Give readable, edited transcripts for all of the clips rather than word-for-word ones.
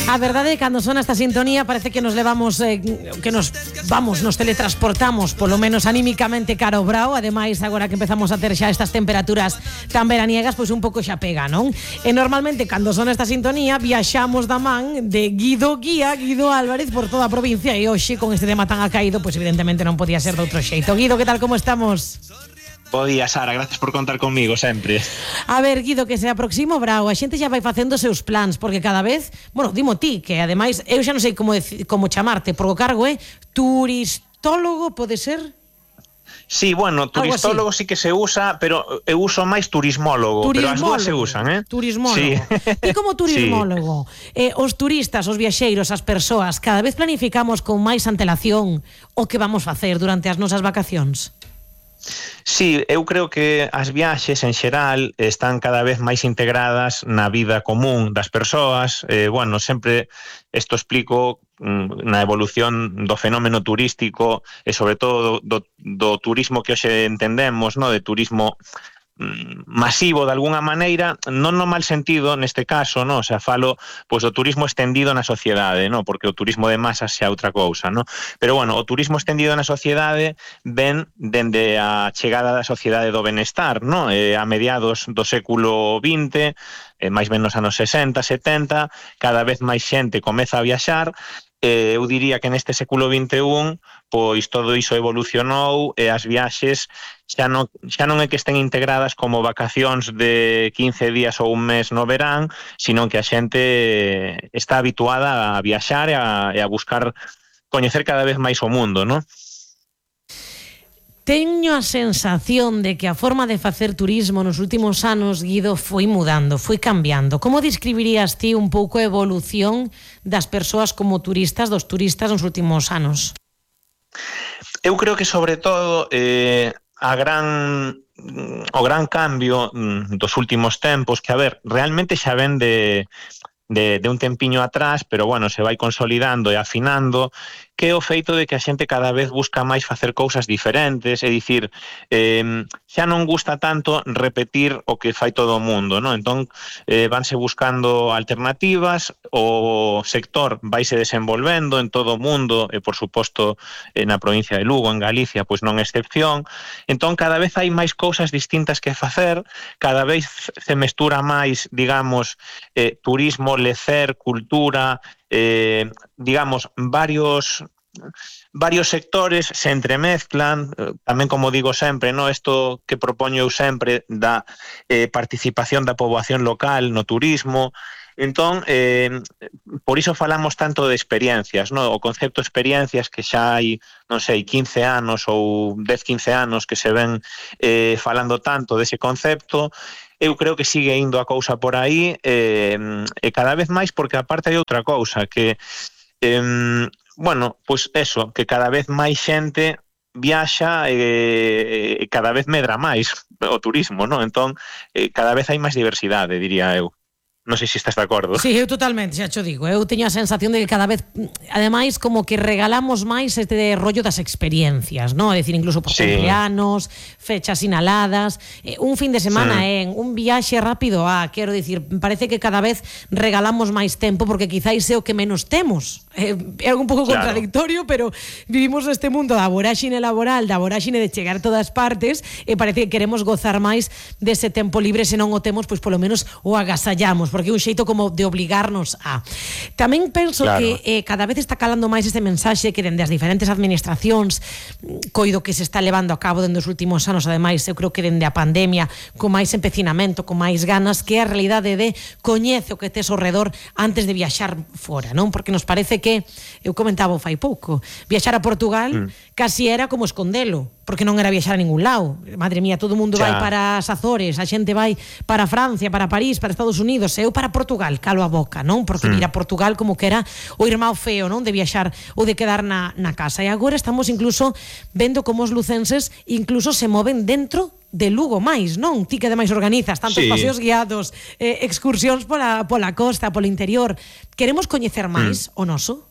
A verdade é que cando sona esta sintonía parece que nos levamos nos teletransportamos polo menos anímicamente cara ao Brao. Ademais, agora que empezamos a ter xa estas temperaturas tan veraniegas, pois un pouco xa pega, non? E normalmente cando sona esta sintonía viaxamos da man de Guido Álvarez por toda a provincia, e hoxe con este tema tan acaído, pois evidentemente non podía ser de outro xeito. Guido, que tal, como estamos? Bo día, Sara, gracias por contar conmigo sempre. A ver, Guido, que se aproxima o Brao, a xente xa vai facendo os seus plans, porque cada vez, bueno, dimo ti, que ademais eu xa non sei como chamarte, porque o cargo é turistólogo, pode ser? Sí, bueno, turistólogo sí que se usa, pero eu uso máis turismólogo, pero as dúas se usan, Turismólogo. Sí. E como turismólogo, os turistas, os viaxeiros, as persoas, cada vez planificamos con máis antelación o que vamos facer durante as nosas vacacións? Sí, eu creo que as viaxes en xeral están cada vez máis integradas na vida común das persoas. Bueno, sempre isto explico na evolución do fenómeno turístico e sobre todo do turismo que hoxe entendemos, no, de turismo masivo de alguna maneira, non no mal sentido neste caso, no, o sea, falo pois do turismo estendido na sociedade, no, porque o turismo de masas xa é outra cousa, no. Pero bueno, o turismo estendido na sociedade ven dende a chegada da sociedade do benestar, no, a mediados do século XX, máis ben nos anos 60, 70, cada vez máis xente comeza a viaxar. Eu diría que neste século XXI pois todo iso evolucionou e as viaxes xa non é que estén integradas como vacacións de 15 días ou un mes no verán, sino que a xente está habituada a viaxar e a buscar coñecer cada vez máis o mundo, non? Teño a sensación de que a forma de facer turismo nos últimos anos, Guido, foi mudando, foi cambiando. Como describirías ti un pouco a evolución das persoas como turistas, dos turistas nos últimos anos? Eu creo que sobre todo o gran cambio dos últimos tempos, que a ver, realmente xa ven de un tempiño atrás, pero bueno, se vai consolidando e afinando, que é o feito de que a xente cada vez busca máis facer cousas diferentes, é dicir, xa non gusta tanto repetir o que fai todo o mundo, non? Entón, vanse buscando alternativas, o sector vaise desenvolvendo en todo o mundo, e por suposto na provincia de Lugo, en Galicia, pois non é excepción. Entón, cada vez hai máis cousas distintas que facer, cada vez se mestura máis, digamos, turismo, lecer, cultura, digamos, varios sectores se entremezclan, tamén como digo sempre, no, isto que propoño eu sempre da participación da poboación local no turismo. Entón, por iso falamos tanto de experiencias, no? O concepto de experiencias que xa hai, non sei, 15 anos ou 10-15 anos que se ven falando tanto dese concepto. Eu creo que sigue indo a cousa por aí e cada vez máis, porque aparte hai outra cousa que bueno, pois eso, que cada vez máis xente viaxa e cada vez medra máis o turismo, non? Entón, cada vez hai máis diversidade, diría eu. Non sei se estás de acordo. Sí, eu totalmente, xa cho digo. Eu teño a sensación de que cada vez, ademais, como que regalamos máis este rollo das experiencias, ¿no? É dicir, incluso por cumpleanos, fechas sinaladas, un fin de semana un viaxe rápido quero dicir, parece que cada vez regalamos máis tempo, porque quizáis é o que menos temos. É algo un pouco contradictorio, pero vivimos neste mundo da voráxine laboral, da voráxine de chegar a todas partes, e parece que queremos gozar máis dese tempo libre, se non o temos, pois polo menos o agasallamos, porque é un xeito como de obligarnos a. Tamén penso que cada vez está calando máis este mensaxe que dende as diferentes administracións, coido que se está levando a cabo dende os últimos anos, ademais, eu creo que dende a pandemia, con máis empecinamento, con máis ganas, que é a realidade de coñece o que tes ao redor antes de viaxar fora, non? Porque nos parece que, eu comentaba fai pouco, viaxar a Portugal casi era como escondelo, porque non era viaxar a ningún lado. Madre mía, todo o mundo vai para as Azores, a xente vai para Francia, para París, para Estados Unidos, eu para Portugal, calo a boca, non? Porque ir a Portugal como que era o irmão feo, non? De viaxar ou de quedar na casa. E agora estamos incluso vendo como os lucenses incluso se moven dentro de Lugo máis, non? Ti que ademais organizas tantos paseos guiados, excursións pola costa, polo interior. Queremos coñecer máis o noso?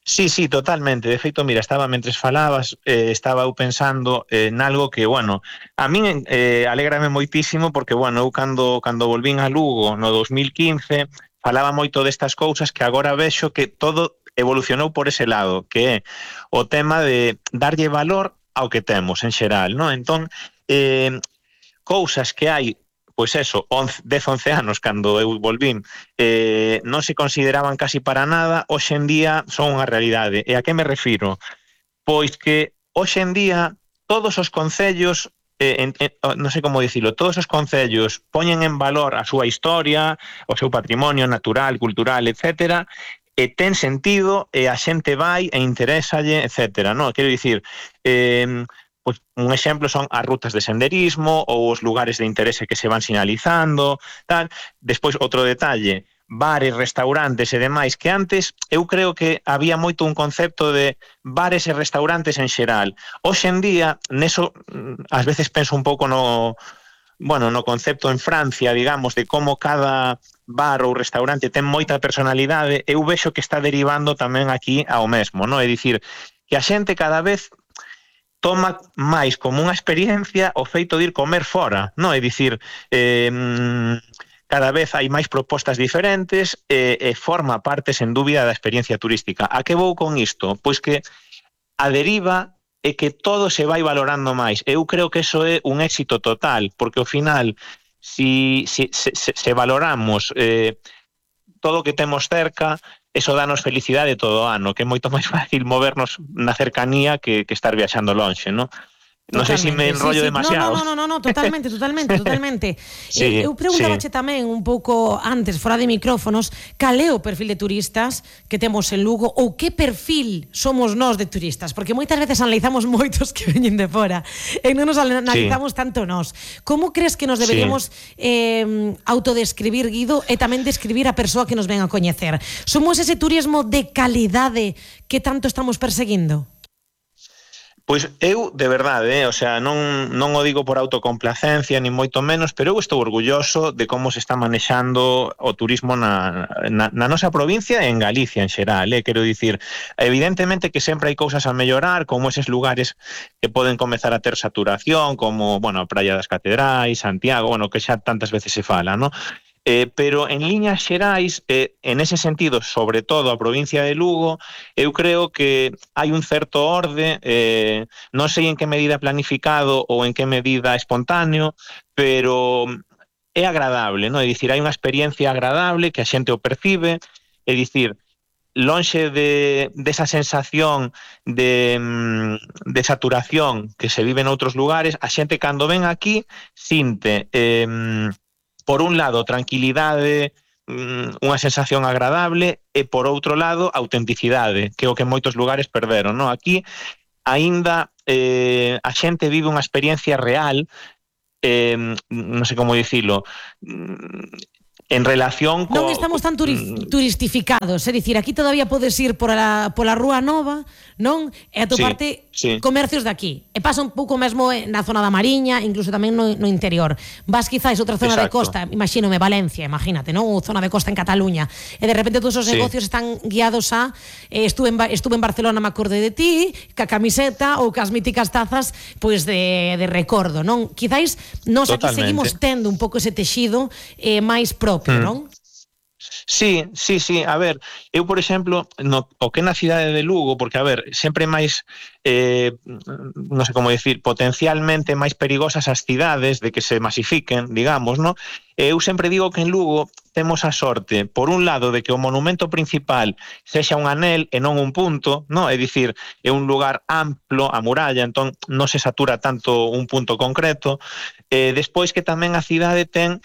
Sí, totalmente. De feito, mira, mentres falabas, estaba eu pensando en algo que, bueno, a min alégrame moitísimo porque, bueno, eu cando volvín a Lugo no 2015, falaba moito destas cousas que agora vexo que todo evolucionou por ese lado, que é o tema de darlle valor ao que temos en xeral, non? Entón, cousas que hai, pois eso, 10, 11 anos cando eu volvín, non se consideraban casi para nada, hoxe en día son unha realidade. E a que me refiro? Pois que hoxe en día todos os concellos, non sei como dicilo, todos os concellos poñen en valor a súa historia, o seu patrimonio natural, cultural, etcétera, e ten sentido, e a xente vai e interésalle, etcétera, non? Quero dicir, pois un exemplo son as rutas de senderismo ou os lugares de interese que se van sinalizando, tal. Despois, outro detalle, bares, restaurantes e demais, que antes eu creo que había moito un concepto de bares e restaurantes en xeral. Hoxe en día, neso, ás veces penso un pouco no concepto en Francia, digamos, de como cada bar ou restaurante ten moita personalidade, eu vexo que está derivando tamén aquí ao mesmo, non? É dicir, que a xente cada vez toma máis como unha experiencia o feito de ir comer fora, non? É dicir, cada vez hai máis propostas diferentes e forma parte, sen dúbida, da experiencia turística. A que vou con isto? Pois que a deriva é que todo se vai valorando máis. Eu creo que eso é un éxito total, porque ao final, se valoramos todo o que temos cerca, eso danos felicidade todo o ano, que é moito máis fácil movernos na cercanía que estar viaxando lonxe, non? Non sei se me enrollo demasiado. No, totalmente. Sí, eu preguntabache tamén un pouco antes, fora de micrófonos, cal é o perfil de turistas que temos en Lugo ou que perfil somos nós de turistas, porque moitas veces analizamos moitos que veñen de fora e non nos analizamos tanto nós. Como crees que nos deberíamos autodescribir, Guido, e tamén describir a persoa que nos ven a coñecer? Somos ese turismo de calidade que tanto estamos perseguindo? Pois eu, de verdade, o sea, non o digo por autocomplacencia, ni moito menos, pero eu estou orgulloso de como se está manexando o turismo na nosa provincia e en Galicia en xeral, quero dicir, evidentemente que sempre hai cousas a mellorar, como eses lugares que poden comezar a ter saturación, como, a Praia das Catedrais, Santiago, que xa tantas veces se fala, non? Pero en liñas xerais, en ese sentido, sobre todo a provincia de Lugo, eu creo que hai un certo orde, non sei en que medida planificado ou en que medida espontáneo, pero é agradable, non? É dicir, hai unha experiencia agradable que a xente o percibe, é dicir, lonxe desa sensación de saturación que se vive en outros lugares, a xente cando ven aquí sinte por un lado, tranquilidade, unha sensación agradable, e por outro lado, autenticidade, que é o que en moitos lugares perderon, non? Aquí, aínda, a xente vive unha experiencia real, non sei como dicilo, en relación non estamos tan turistificados, é dicir, aquí todavía podes ir pola Rúa Nova, non? E atoparte comercios de aquí. E pasa un pouco mesmo na zona da Mariña, incluso tamén no interior. Vas quizás outra zona de costa, imagínome Valencia, imagínate, non? Ou zona de costa en Cataluña. E de repente todos os negocios están guiados a estuve en Barcelona, me acordei de ti, ca camiseta ou cas míticas tazas pois de recordo, non? Quizás nós aquí seguimos tendo un pouco ese texido máis propio, non? Sí, a ver, eu, por exemplo, o que na cidade de Lugo, porque, a ver, sempre máis, non sei como dicir, potencialmente máis perigosas as cidades de que se masifiquen, digamos, non? Eu sempre digo que en Lugo temos a sorte, por un lado, de que o monumento principal sexa un anel e non un punto, non? É dicir, é un lugar amplo, a muralla, entón non se satura tanto un punto concreto. Despois que tamén a cidade ten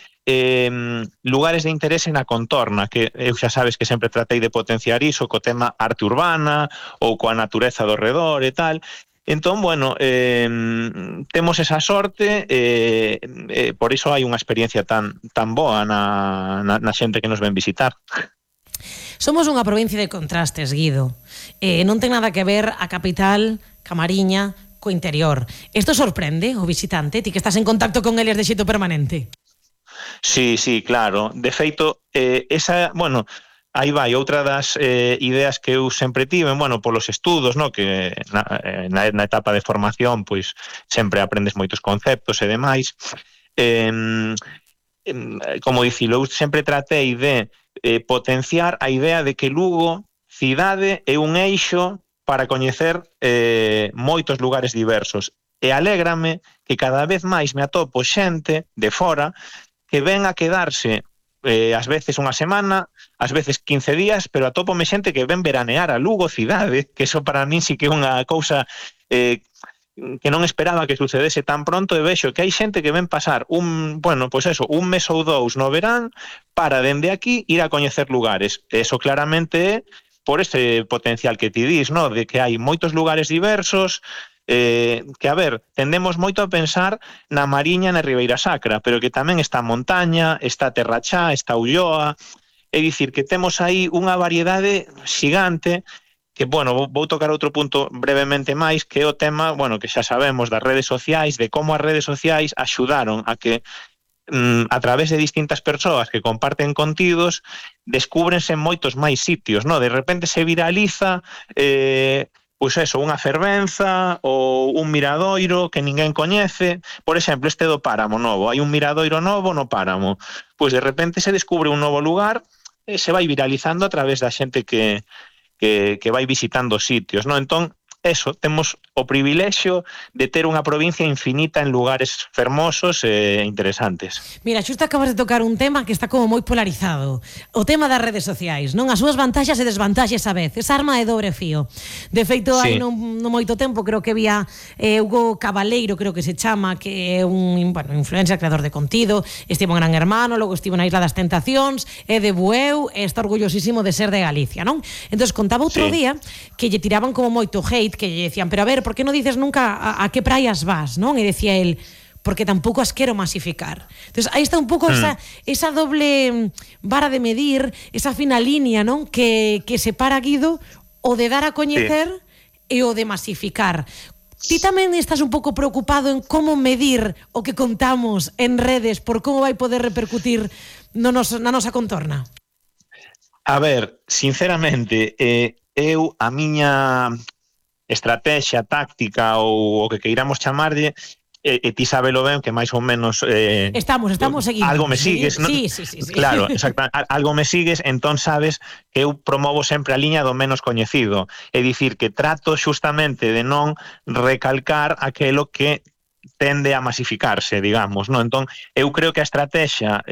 lugares de interese na contorna, que eu xa sabes que sempre tratei de potenciar iso co tema arte urbana ou coa natureza do redor e tal. Entón, temos esa sorte, por iso hai unha experiencia tan boa na xente que nos ven visitar. Somos unha provincia de contrastes, Guido. Non ten nada que ver a capital, Camariña, co interior. Isto sorprende o visitante, ti que estás en contacto con eles de xeito permanente? Sí, claro. De feito, aí vai outra das ideas que eu sempre tive, polos estudos, no, que na etapa de formación, pois sempre aprendes moitos conceptos e demais. como dicilo, eu sempre tratei de potenciar a idea de que Lugo, cidade, é un eixo para coñecer moitos lugares diversos. E alégrame que cada vez máis me atopo xente de fora que ven a quedarse ás veces unha semana, ás veces 15 días, pero atópome xente que ven veranear a Lugo cidade, que eso para min sí que é unha cousa que non esperaba que sucedese tan pronto, e vexo que hai xente que ven pasar un mes ou dous no verán para dende aquí ir a coñecer lugares. Eso claramente é por ese potencial que ti dis, no? De que hai moitos lugares diversos, que, a ver, tendemos moito a pensar na Mariña, na Ribeira Sacra, pero que tamén está a Montaña, está a Terrachá, está a Ulloa, é dicir, que temos aí unha variedade xigante, que, bueno, vou tocar outro punto brevemente máis, que é o tema, bueno, que xa sabemos das redes sociais, de como as redes sociais axudaron a que a través de distintas persoas que comparten contidos, descúbrense moitos máis sitios, no? De repente se viraliza pois eso, unha fervenza ou un miradoiro que ninguén coñece. Por exemplo, este do Páramo novo, hai un miradoiro novo no Páramo, pois de repente se descubre un novo lugar e se vai viralizando a través da xente que vai visitando sitios, no? Entón, eso, temos o privilexio de ter unha provincia infinita en lugares fermosos e interesantes. Mira, xusto acabas de tocar un tema que está como moi polarizado. O tema das redes sociais, non? As súas vantaxes e desvantaxes a vez. Esa arma de dobre fío. De feito, hai non moito tempo, creo que había Hugo Cabaleiro, creo que se chama, que é un influencer, creador de contido, estivo en Gran Hermano, logo estivo na Isla das Tentacións, é de Bueu, e está orgullosísimo de ser de Galicia, non? Entón, contaba outro día que lle tiraban como moito hate, que lle decían, pero a ver, por que non dices nunca a que praias vas, non? E decía el, porque tampouco as quero masificar. Entonces, aí está un pouco esa doble vara de medir, esa fina línea, non? Que separa, Guido, o de dar a coñecer e o de masificar. Ti tamén estás un pouco preocupado en como medir o que contamos en redes por como vai poder repercutir na nosa contorna? A ver, sinceramente, eu a miña estrategia, táctica ou o que queiramos chamarlle, e ti sabelo ben que máis ou menos estamos seguindo. Algo me sigues, ¿no? Sí. Claro, exactamente, algo me sigues, entón sabes que eu promovo sempre a liña do menos coñecido, é dicir, que trato xustamente de non recalcar aquelo que tende a masificarse, digamos, non? Entón, eu creo que a estrategia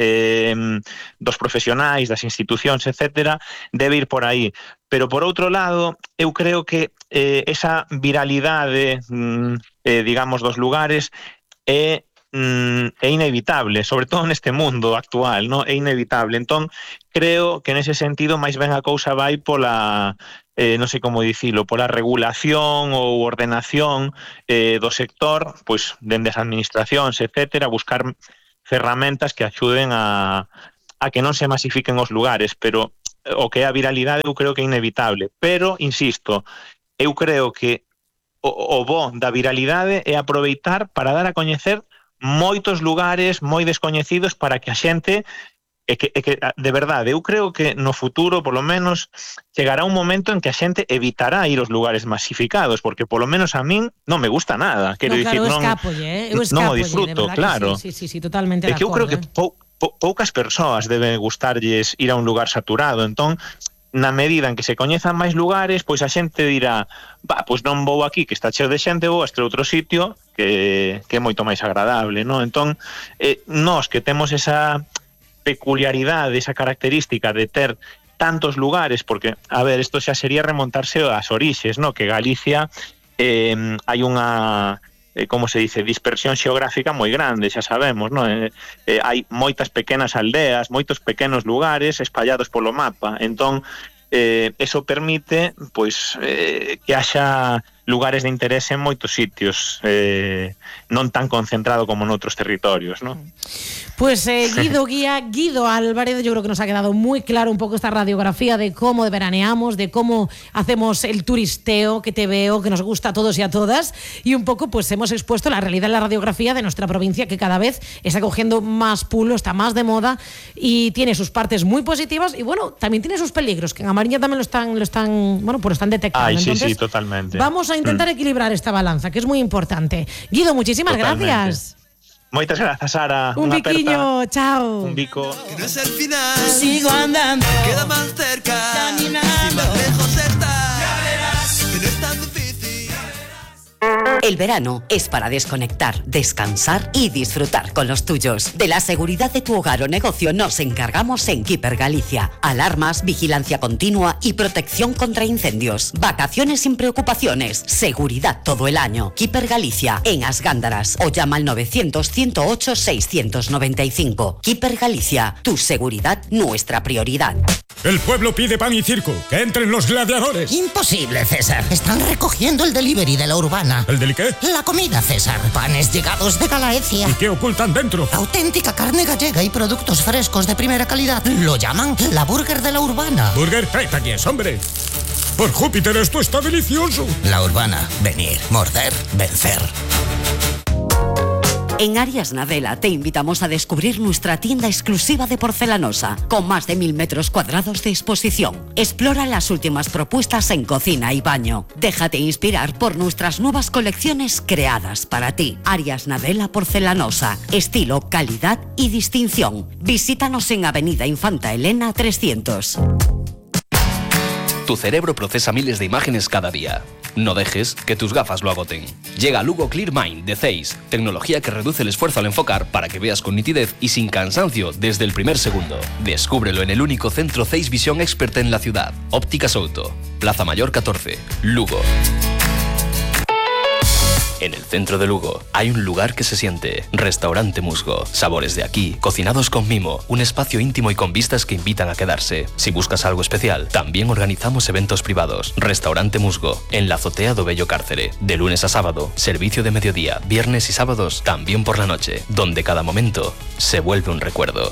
dos profesionais, das institucións, etcétera, debe ir por aí. Pero, por outro lado, eu creo que esa viralidade, digamos, dos lugares é inevitable, sobre todo neste mundo actual, non? É inevitable. Entón, creo que nese sentido máis ben a cousa vai pola non sei como dicilo, pola regulación ou ordenación do sector, pois dende as administracións, etcétera, buscar ferramentas que axuden a que non se masifiquen os lugares, pero o que é a viralidade eu creo que é inevitable. Pero, insisto, eu creo que o bo da viralidade é aproveitar para dar a coñecer moitos lugares moi descoñecidos para que a xente que de verdade, eu creo que no futuro, polo menos, chegará un momento en que a xente evitará ir aos lugares masificados, porque polo menos a min non me gusta nada. Quero dicir, non o disfruto, claro. Sí, totalmente de acordo. Eu creo que poucas persoas deben gustarlles ir a un lugar saturado, entón, na medida en que se coñezan máis lugares, pois a xente dirá, pois non vou aquí, que está cheo de xente, vou a este outro sitio que é moito máis agradable, non? Entón, nós que temos esa peculiaridade, esa característica de ter tantos lugares, porque, a ver, isto xa sería remontarse ás orixes, no? Que Galicia hai unha, como se dice, dispersión xeográfica moi grande, xa sabemos, no? Hai moitas pequenas aldeas, moitos pequenos lugares espallados polo mapa, entón eso permite pois que haxa lugares de interese en moitos sitios, non tan concentrado como noutros territorios, ¿no? Pues Guido Álvarez, yo creo que nos ha quedado muy claro un poco esta radiografía de cómo veraneamos, de cómo hacemos el turisteo, que te veo, que nos gusta a todos y a todas, y un poco pues hemos expuesto la realidad, la radiografía de nuestra provincia, que cada vez está cogiendo más pulo, está más de moda y tiene sus partes muy positivas y bueno, también tiene sus peligros, que en Amariña también lo están detectando. Ay, Entonces, sí, totalmente. Vamos a intentar equilibrar esta balanza, que es muy importante. Guido, muchísimas gracias. Moitas grazas, Sara. Un biquiño, chao. Un bico. Que no es el final. Sigo andando, Queda más cerca. caminando. Y más lejos está. Ya verás. Que no es tan difícil. El verano es para desconectar, descansar y disfrutar con los tuyos. De la seguridad de tu hogar o negocio nos encargamos en Keeper Galicia. Alarmas, vigilancia continua y protección contra incendios. Vacaciones sin preocupaciones. Seguridad todo el año. Keeper Galicia en As Gándaras o llama al 900-108-695. Keeper Galicia, tu seguridad, nuestra prioridad. El pueblo pide pan y circo. ¡Que entren los gladiadores! Imposible, César. Están recogiendo el delivery de la Urbana. ¿El deli qué? La comida, César. Panes llegados de Galaecia. ¿Y qué ocultan dentro? Auténtica carne gallega y productos frescos de primera calidad. Lo llaman la burger de la Urbana. Burger, tráete aquí, hombre. Por Júpiter, esto está delicioso. La Urbana. Venir, morder, vencer. En Arias Nadela te invitamos a descubrir nuestra tienda exclusiva de porcelanosa, con más de 1000 metros cuadrados de exposición. Explora las últimas propuestas en cocina y baño. Déjate inspirar por nuestras nuevas colecciones creadas para ti. Arias Nadela Porcelanosa, estilo, calidad y distinción. Visítanos en Avenida Infanta Elena 300. Tu cerebro procesa miles de imágenes cada día. No dejes que tus gafas lo agoten. Llega Lugo Clear Mind de Zeiss, tecnología que reduce el esfuerzo al enfocar para que veas con nitidez y sin cansancio desde el primer segundo. Descúbrelo en el único centro Zeiss Visión Expert en la ciudad. Ópticas Auto, Plaza Mayor 14, Lugo. En el centro de Lugo hay un lugar que se siente. Restaurante Musgo. Sabores de aquí, cocinados con mimo. Un espacio íntimo y con vistas que invitan a quedarse. Si buscas algo especial, también organizamos eventos privados. Restaurante Musgo, en la azotea do Bello Cárcere. De lunes a sábado, servicio de mediodía, viernes y sábados, también por la noche. Donde cada momento se vuelve un recuerdo.